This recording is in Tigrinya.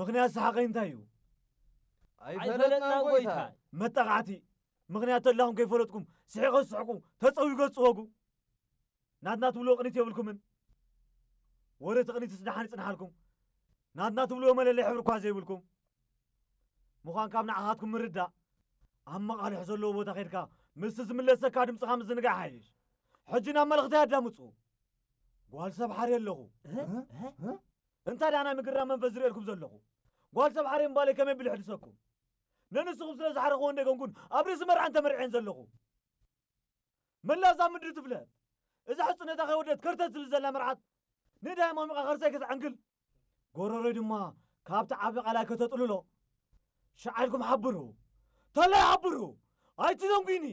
ምኽንያት ሰሓቐይ እንታይ እዩ? ኣይፈለጥናን ጎይታይ። መጣቓዕቲ። ምኽንያት ተላኹም ከይፈለጥኩም ስሒቐ ዝስሕቁ፣ ተጸዊገ ዝጽወጉ። ናትና ትብልዎ ቅኒት የብልኩምን። ወረ እቲ ቅኒትስ ደሓን ይጽንሓልኩም። ናትና ትብልዎ መለለይ ሕብሪ እኳ ዘይብልኩም። ምዃን ካብ ንዓኻትኩም ምርዳእ፣ ኣብ መቓልሕ ዘለዎ ቦታ ኸይድካ ምስቲ ዝምለሰካ ድምፅኻ ምዝንጋዕ ሓይሽ። ሕጂ ናብ መልእኽተይ ኣዳምፁ። ጓል ሰብ ሓርየ ኣለኹ። እንታይ ደኣ ናይ ምግራ መንፈስ ዝርእየልኩም ዘለኹ? ጓል ሰብ ሓርየ ምባለይ ከመይ ብል ይሕድሰኩም? ነንስኹም ስለ ዝሓረኽዎ እንደገንኩን ኣብ ርእሲ መርዓን ተመርዕየን ዘለኹ። መላዛ ምድሪ ትፍለጥ። እዛ ሕጽነታ ከይወደት ከርተት ትብል ዘላ መርዓት ንዳይ ማሚቓ ከርሰይ ከተዕንግል፣ ጎረሮይ ድማ ካብቲ ዓቢ ቃላይ ከተጥልሎ፣ ሸዓልኩም ሓብሩ። ተለይ ሓብሩ። ኣይትዘንጉኒ።